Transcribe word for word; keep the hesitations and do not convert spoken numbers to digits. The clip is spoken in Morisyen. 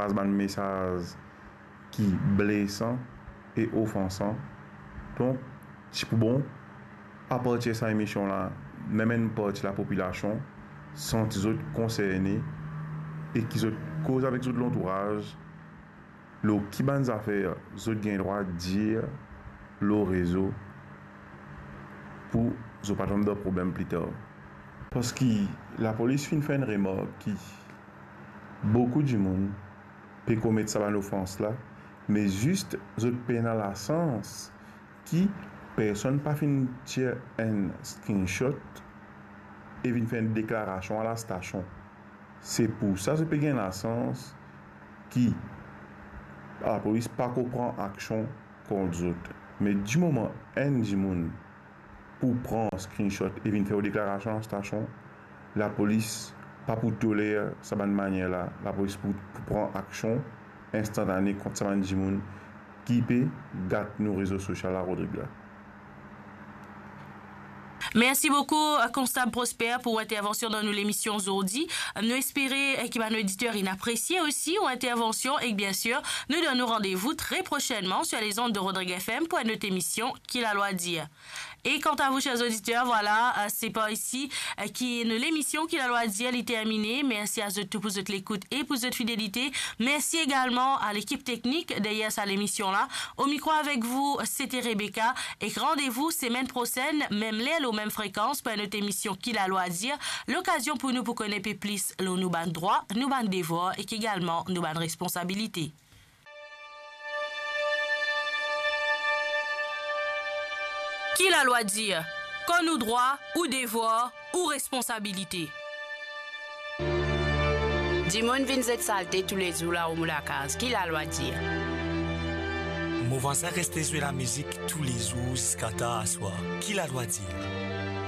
pas bann mesaz ki blesan e ofansan. Donk, ti pou bon, apartir sa emision la, mem enn parti lapopilasion santi zot konserne e ki zot koz avek zot lantouraz lor ki bann zafer zot gagn drwa dir lor rezo pou zot pa tom dan problem pli tar. Parski lapolis finn fer enn remark ki boukou dimoun pe komet sa bann ofans la, me zis zot pena lasans ki personn pa finn tir enn screenshot e vinn fer enn deklarasion a lastasion. Se pou sa zot pe gagn lasans ki lapolis pa pou pran aksion kont zot. Me dimoman enn dimoun pou pran screenshot e vinn fer deklarasion a lastasion, lapolis pa pou toler sa bann manier la. Lapolis pou, pou pran aksion instantane kont sa bann dimoun ki pe gat nou rezo sosial la, Rodrig la. Mersi boukou, Konstab Prosper, pou ou intervansion dan nou lemision zordi. Nou espere, eh, ki bann oditer inn apresie osi ou intervansion e, biensir, nou donn ou randevou tre prosenman sur les ondes de Rodrig F M pou enn lot emision Ki Lalwa Dir. E kanta vou, ser oditer, vwala, eh, se par isi, eh, ki nou lemision Ki Lalwa Dir li termine. Mersi a zot tou pou zot lekout e pou zot fidelite. Mersi egalman a lekip teknik deryer sa lemision la. O mikro avek vou, sete Rebecca. Ek randevou semenn prosenn, mem ler, lor mem frekans, pou enn lot emision Ki Lalwa Dir, lokazion pou nou pou kone pe plis lor nou bann drwa, nou bann devwar ek egalman nou bann responsabilite. Ki Lalwa Dir, kan ou drwa, ou devwar, ou responsabilite. Dimoun vinn zet salte toulezour lor mo lakaz, Ki Lalwa Dir. Mo vwazin reste zwe lamizik toulezour ziska tar aswar, Ki Lalwa Dir.